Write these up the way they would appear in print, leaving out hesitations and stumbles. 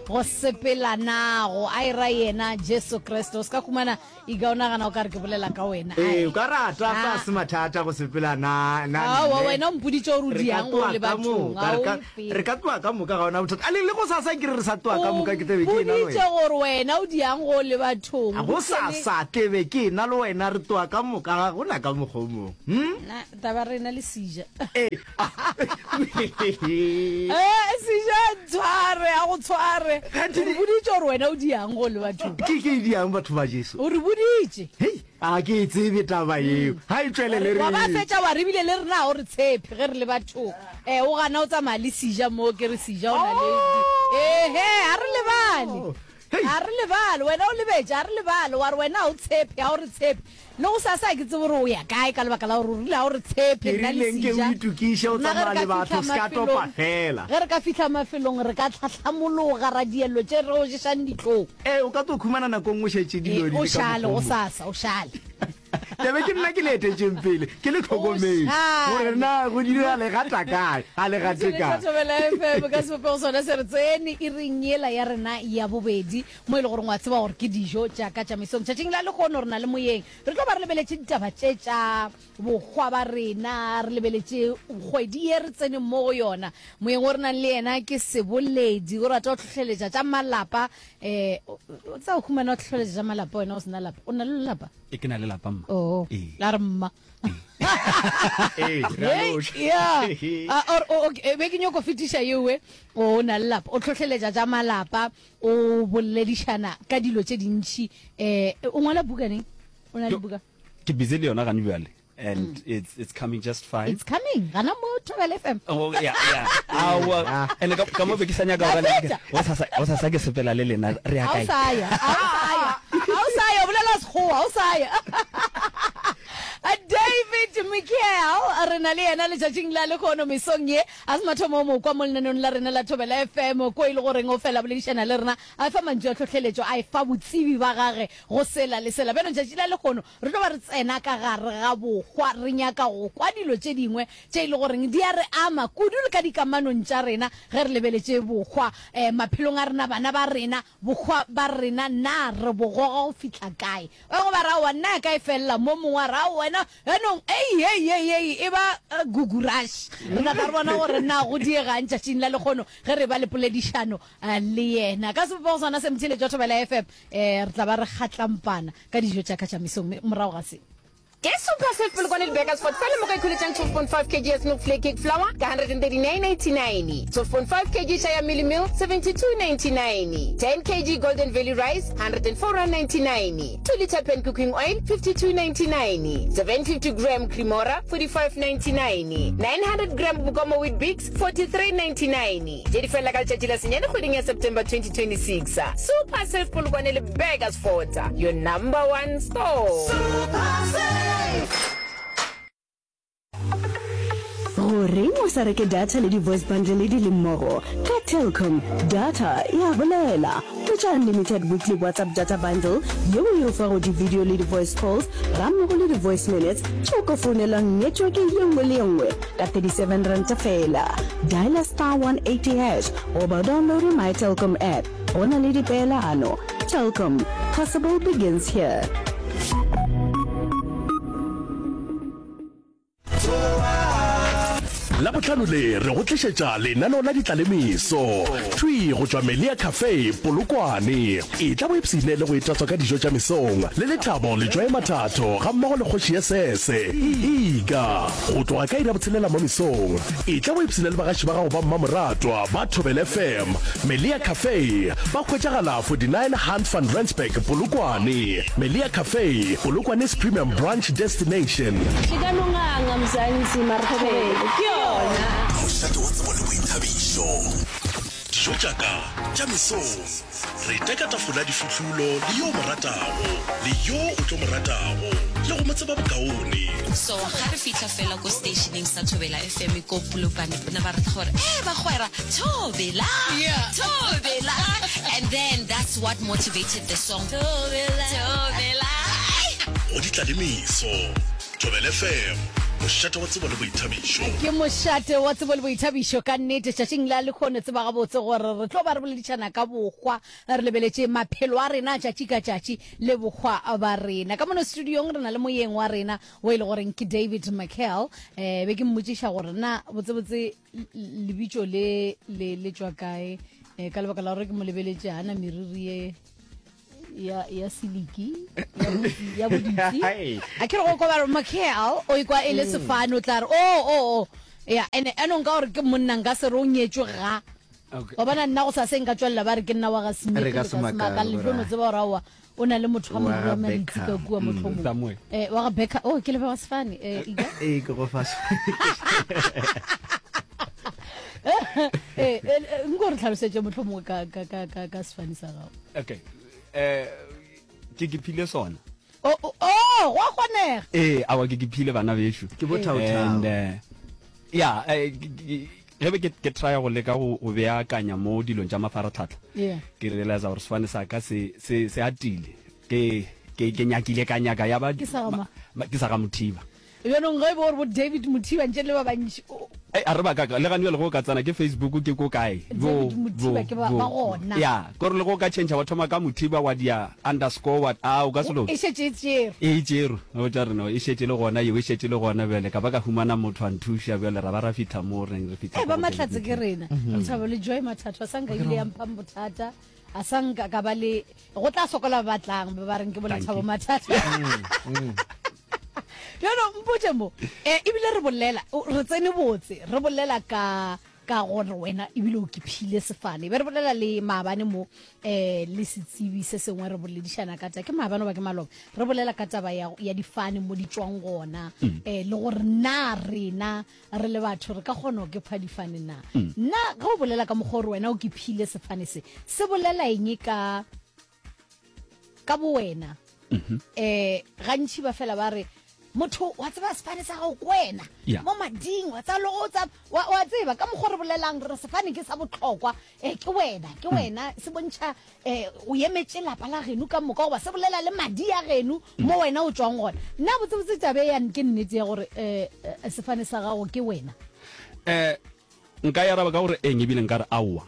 Go sepela nago a e ra yena Jesu Kriste. O se ka humana ika o nagana o ka re ke bolela ka wena. Ee, o ka rata fa se mathata go sepela na na Aowa, wena o mpoditše gore o diang go le bathong. A o mpe. Re ka tloga ka moka ga ona bothata. A le le go sasa ke re re sa tloga ka moka ke tebe ke ena le wena. O mpoditše gore wena o diang go le bathong. Go sasa tebe ke ena le wena re tloga ka moka ga gona ka mokgwa o mongwe. Hm? Na taba rena le seja. Eh, seja ntshware a go tshware. O re boditše gore wena o diang go le bathong. Ke ke diang batho ba Jesu. O re boditše. Hei, a ke e tsebe taba yeo. Ga e tšwelele re. Wa ba fetša wa re bile le rena ga o re tshepe ge re le bathong. Eh, o gana o tsamaya le seja mo ke re seja o na le. Ehe, a re lebale. A re lebale, wena o lebetše, a re lebale, wa re wena ga o tshepe, ga o re tshepe. Le go sasa ga ke tsebe gore o ya kae ka lebaka la gore o rile ga o re tshepe, Ke nna le rile nke o Seja. itokiše o Rena ge re tsamaya ka le batho, fihla se ka topa mafelong, fela. ge re ka fihla mafelong re ka tlhahlamologa ra diello tše re o ješang dihlong. Ee, o ka tlo khumana nako nngwe o šetše dilo Ee, di o le ka šale mokgwa o go mongwe. sasa, o šale. Tebe ke nna ke le etetšeng pele, ke le O hlokometše gore šale. na go direga legata kae, ga le gate Tšhelete kae. Thobela FM ka sebopego sona se re tsene iring yela ya rena ya bobedi mo e le goreng wa tseba gore ke dijo tša ka tša mesong. Tšatšing la lehono re na le moyeng, re tlo ba re lebeletše ditaba tše tša bohwa ba rena, re lebeletše kgwedi ye re tseneng mo go yona. Moyeng o re nang le yena ke Seboledi, o rata go hlohleletša tša malapa. Um o tsa o humana o hlohleletša tša malapa wena o se na lapa, o na le lelapa? E ke na le lapa mma. Oh, Ee. la re mma. Ee, re a Hey, loša. yeah. Ah, or, o- okay, be ke nyoko fetiša yewe o na le lapa o hlohleletša tša malapa o boledišana ka dilo tše dintši um o ngwala buka neng o na le buka Ke busy le yona gane bjale and it's it's coming just fine. It's coming gana mo Thobela FM. Oh yeah yeah. Aowa and ka ka mo be ke sa nyaka go Fetša. go sasa go sasa ke sepela le lena re ya Ga o kae? sa ya, ga o sa ya. Ga o sa ya, o bolela Sekgowa, ga o sa ya. David Michael re na le yena letšatšing la lehono mesong ye a se mathomo o mo kwa mo lenaneong la rena la Thobela FM ko e le goreng o fela boledišana le rena a fa mantšu a tlhohleletšo a efa botsebi ba gage go sela le sela. Bjalo letšatši la lehono re tlo ba re tsena ka gare ga bohwa re nyaka go kwa dilo tše dingwe tše e le goreng di a re ama kudu le ka dikamanong tša rena ge re lebeletše bohwa um maphelong a rena, bana ba rena, bohwa ba rena na re bo goga go fihla kae. Ba bangwe ba re aowa nna ya ka e felela mo, mongwe a re aowa wena Jaanong, ei, ei, ei, ei, e ba gugurash. Re tla tla re bona gore na go diegang tšatšing la lekgono ge re ba le poledišano le yena. Ka sebopego sona se motheeletši wa Thobela FM, eh, re tla ba re kgatlampana ka dijo tša ka tša mesong morago ga se. Ke Super Save Polokwane le Burgersfort fela mo ka ikholetšang 12.5 kg ya Snoek Flake Cake Flour ka 139.89, 12.5 kg Shaya Mealie Meal 72.99, 10 kg Golden Valley Rice 104.99. 2 litre pan cooking oil 52.99, 750 gram Cremora 45.99, 900 gram Bokomo Weet-Bix 43.99. Tše di felela ka letšatši la senyane kgweding ya September 2026. Super Save Polokwane le Burgersfort, your number one store. Super Save! Goreng o sa reke data le di-voice bundle di le mmogo? Ka Telkom, data e a bolela. Hwetša unlimited weekly WhatsApp data bundle yeo e go fago di-video le di-voice calls gammogo le di-voice minutes tše o ka founelang network ye nngwe le ye nngwe ka 37 ranta feela. Dialer star 180 hash goba o downloade My Telkom app. Go na le dipeelano. Telkom, possible begins here. Labohlano le re go tlišetša lenaneo la ditlalemeso thwi go tšwa Melia Cafe, Polokwane. Etla o ipshine le go itatswa ka dijo tša mesong le Lethabo Letšwae Mathatho gammogo le kgoši ya Sese, Ika. Go tloga ka iri ya botshelela mo mesong, etla o ipshine le bagaši ba gago ba mmamoratwa ba Thobela FM. Melia Cafe ba hwetšagala 49 Hans van Rensburg, Polokwane. Melia Cafe, Polokwane's premium brunch destination. Ke ka no nganga Mzansi mara thobelo ke yona. Mošate wa tsebo le boithabišo. Dijo tša ka tša mesong. Re teka tafola difuhlulo le yo o mo ratago le yo o tlo mo ratago le go mo tseba bokaone. So ga re fihla fela ko stationeng sa Thobela FM ko Polokwane bona ba rata gore eh bagwera Thobela Thobela and then that's what motivated the song Thobela Thobela. Go di tla le meso. Thobela FM. Mošate wa tsebo le boithabišo. Ke mošate wa tsebo le boithabišo ka nnete. Tšatšing la lehono tseba gabotse gore re tlo ba re boledišana ka bohwa, re lebeletše maphelo a rena a tšatši ka tšatši le bohwa ba rena. Ka mono studiong re na le moyeng wa rena o e le goreng ke David McHale. Eh, be ke mmotšiša gore na botsebotse lebitšo le le le tšwa kae, eh, ka lebaka la gore ke mo lebeletše a na meriri ye ya ya siliki ya boditsi a ke re go kwa ba re McHale o ikwa e le mm. sefane o tla re o oh, o oh, o oh. ya ene ene nka gore ke monna nka se re o nyetšwe ga wa bona nna go sa se nka tswelela ba re ke nna wa ga Smith re ka se makale le tlo tseba gore aowa o na le motho wa moriri wa maritsi ka kua mm. mohlomong eh wa ga Beckham oh ke lebe wa sefane eh ika eh ke go fa eh, eh nko re tlhalosetše mohlomongwe ka ka ka ka sefane sa gago okay eh ke ke phile sona oh oh, oh go a kgonega ee awa ke ke phile bana bešo ke bothaothao and eh, ya eh, ge be ke try go leka go beakanya mo dilong tša mafaratlhatlha ke realize gore sefane sa ka se se se atile ke ke ke nyakile ka nyaka ya ba ke sa ga mothiba Bjanong ge e be gore bo David Mothiba ntše le ba bantši. Ei, a re ba kaka, le gane bjale go ka tsena ke Facebook ke ko kae? Bo, David Mothiba ke ba, ba gona. Ya, kore le go ka change wa thoma ka Mothiba wa dia underscore wa, a o ka se loke. E šetše e tšerwe. E tšerwe, o tla re no, e šetše le gona yeo, e šetše le gona bjale, ka ba ka humana motho a nthuša bjale ra ba ra fihla mo re neng re fihla Ei, ko ba go David Mahlatse ke Mothiba. rena. Lethabo le Joy Mathatho, a sa nka ebile ya mphang bothata, a sa nka ka ba le, go tla sokola ba ba tlang, ba ba reng ke bo Lethabo Mathatho. Bjalo mpotše mo, eh, ebile re bolela, re tsene botse, re bolela ka ka gore wena ebile o kiphile sefane. Be re bolela le maabane mo eh le setsebi se sengwe re boledišana ka taba, ke maabane goba ke maloba, re bolela ka taba ya, ya difane mo di tšwang gona, mm. eh, le gore na rena re le batho re ka kgona go kepha difane na. Mm. Na ge o bolela ka mokgwa gore wena o kiphile sefane se, se bolela eng ka ka bowena um gantši ba fela ba re motho wa tseba sefane sa gago ko wena mo mading wa tseba le go tsa wa tseba ka mokgwa re bolelang re sefane ke sa botlhokwa um ke wena ke mm. wena se bontšha um o emetše lapa la geno ka moka goba se bolela le madi a geno mm. mo wena o tswang gona nna botsebotse tabe yane ke nnete ya gore um sefane sa gago ke wena um Nka e araba ka gore eng ebile nka re aowa.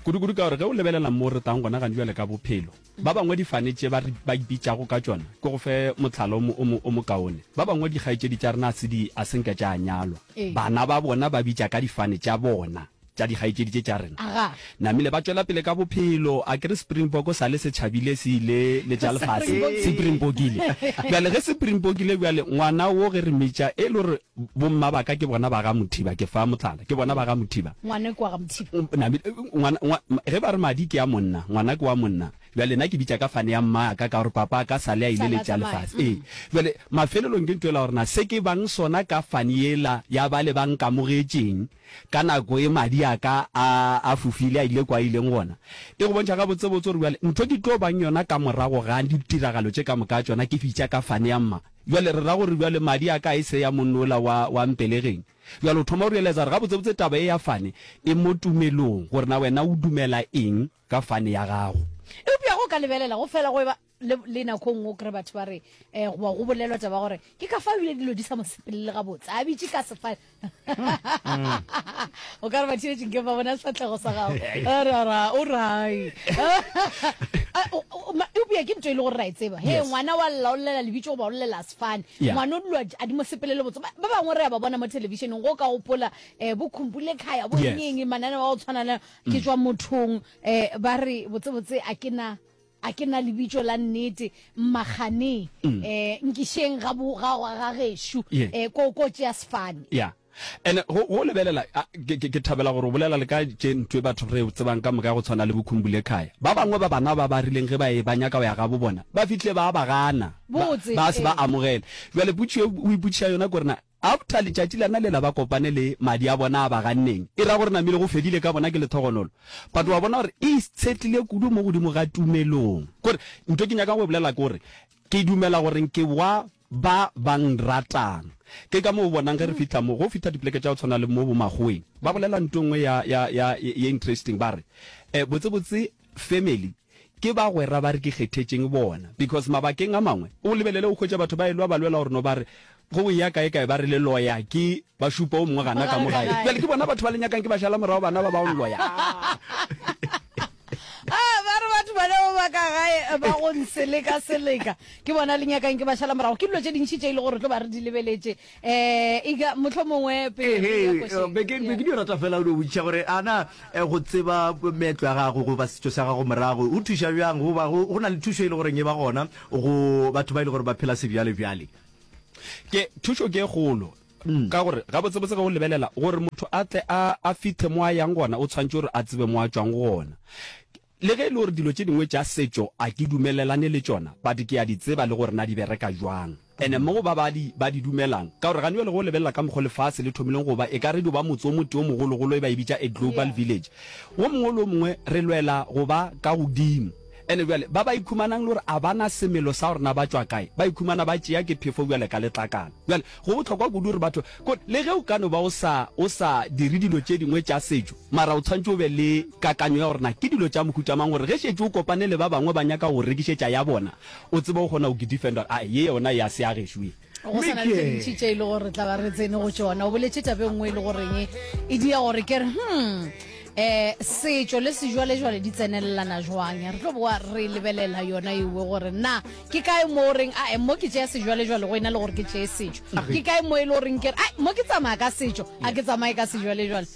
Kudu-kudu ka gore ge o lebelela mo re tlang gona gane bjale ka bophelo, ba bangwe difane tše ba, ba ipitšago ka tšona, ke go fe mohlala o mo, o mo, o mokaone. Ba bangwe dikgaetšedi tša rena a se di, a se nke tša nyalwa. Bana ba bona ba bitša ka difane tša bona, tša dikgaetšedi tše tša rena. Namile ba tšwela pele ka bophelo, a ke re Springbok sa le se tšhabile se ile le tša lefase, se pringbokile. Bjale ge se pringbokile bjale, ngwana wo ge re mmitša, e le gore Bomma ba ka ke bona ba ga Mothiba, ke fa mohlala, ke bona ba ga Mothiba. Ngwana ke wa ga Mothiba. Namile, ngwana, ngwa, ge ba re madi ke a monna, ngwana ke wa monna. Bjale nna ke bitša ka fane ya mmaka ka gore papa ka sale a ile Sale a le tša tsamaya. lefase. Ee. Bjale mafelelong ke ntho ela gore na se ke bang sona ka fane yela ya bale ba nkamogetšeng ka nako e madi a ka a, a fofile a ile kwa a ileng gona. E go bontšha gabotsebotse gore bjale ntho ke tlo bang yona ka morago ga ditiragalo tše ka moka tšona ke bitša ka fane ya mma. Bjale re ra gore bjale madi a ka e se ya monna ola wa, wa mpelegeng. Bjale o thoma go realize gore gabotsebotse taba ye ya fane e mo tumelong, gore na wena o dumela eng ka fane ya gago. Eupša ge o ka lebelela, go fela go eba le, le nako e nngwe o kry batho ba re, eh, goba go bolelwa taba ya gore ke ka fao ebile dilo di sa mo sepelele gabotse, a bitše ka sefane. o ka re batheetši nke ba bona sefahlego sa gago rara o rai eupša ke ntho e le gore ra e tseba he ngwana wa lla o llela lebitso goba o llela sefane ngwana o dilo a di mo sepelele botse ba bangwe re ya ba bona mo thelebišeneng go ka gopola um bo khumpule khaya bo eng mananeo a go tshwana le ke tswa mothong um ba re botsebotse a ke na A ke na lebitso la nnete, Mmakgane, eh, nkišeng ga bo, ga, ga gešo, Yeah. eh, ko, ko tšea sefane. Ya. And go, go lebelela, a, ke, ke, ke thabela gore o bolela le ka tše ntho e batho re e tsebang ka moka ya go tshwana le boKhumbule Khaya. Ba bangwe ba bana ba ba rileng ge ba e ba nyaka go ya gabo bona, ba fihlile ba ba gana, ba, Botse, ba se ba ee. amogele. Bjale potšišo e o ipotšiša yona ke gore na After letšatši lana lela ba kopane le madi a bona a ba ganneng, e ra gore namile go fedile ka bona ke lethogonolo. But wa bona gore e itshetlile kudu mo godimo ga tumelong. Kore ntho ke nyakang go e bolela ke gore ke dumela gore ke wa ba ba nratang. Ke ka moo o bonang ge re fihla mo, go fihla dipoleke tša go tshwana le mo bo makgoweng, ba bolela ntho e nngwe ya, ya, ya, ye interesting, ba re, eh, botsebotse family ke bagwera ba re ke kgethetšeng bona because mabakeng a mangwe o lebelele o hwetša batho ba elwa ba lwela gore no ba re. Go ya kae kae ba re le loya ke ba šupa o mongwe gana ka mo gae. Bjale ke bona batho ba le nyakang ke ba šala morago bana ba ba o loya. Ah, ba re batho ba leo ba ka gae eh, ba go nseleka seleka ke bona le nyakang ke ba šala morago ke dilo tše dintšhi tše e le gore tlo ba re di lebeletše um eka motlho mongwe pele re ya košeng. Be ke be ke dio rata fela o dio botšiša gore a na eh, go tseba meetlo ya gago goba setšo sa gago morago o thuša bjang goba go na le thušo e le goreng e ba gona go batho ba e le gore ba phela sebjale-bjale. Ke thušo ke e kgolo ka gore gabotsebotse ge o lebelela gore motho a tle a a fihle mo a yang gona o tshwanetše gore a tsebe mo a tšwang gona. Le ge e le gore dilo tše dingwe tša setšo a ke dumelelane le tšona but ke a di tseba le gore na di bereka jwang. Ene mo go ba ba di ba di dumelang ka gore gane bjale ge o lebelela ka mokgo lefase le thomileng go ba e ka re dio ba motse o motee o mogologolo e ba e bitša a global village. Wo mongwe le wo mongwe re lwela go ba ka godimo. Ene bjale ba ba ikhumanang le gore a ba na semelo sa gore na ba tšwa kae, ba ikhumana ba tšea ke phefo bjale ka letlakala. Bjale go bohlokwa kudu gore batho, kore le ge o ka no ba o sa, o sa dire dilo tše dingwe tša setšo, mara o tshwanetše o be le kakanyo ya gore na ke dilo tša mohuta mang gore ge šetše o kopane le ba bangwe ba nyaka go go rekišetša ya bona, o tsebe go kgona go defender gore ae ye yona ya se ya gešo ye. Go sa na le tše dintši tše e le gore re tla ba re tsene go tšona. O boletše taba e nngwe e le goreng e dia gore ke re hmm eh setšo le sejwalejwale di tsenelelana jwang. Re tlo boa re lebelela yona ewe gore na ke kae mo o reng ae mo ke tšea sejwalejwale go ena le gore ke tšee setšo. Ke kae mo e le goreng ke re ai mo ke tsamaya ka setšo a ke tsamaye ka sejwalejwale.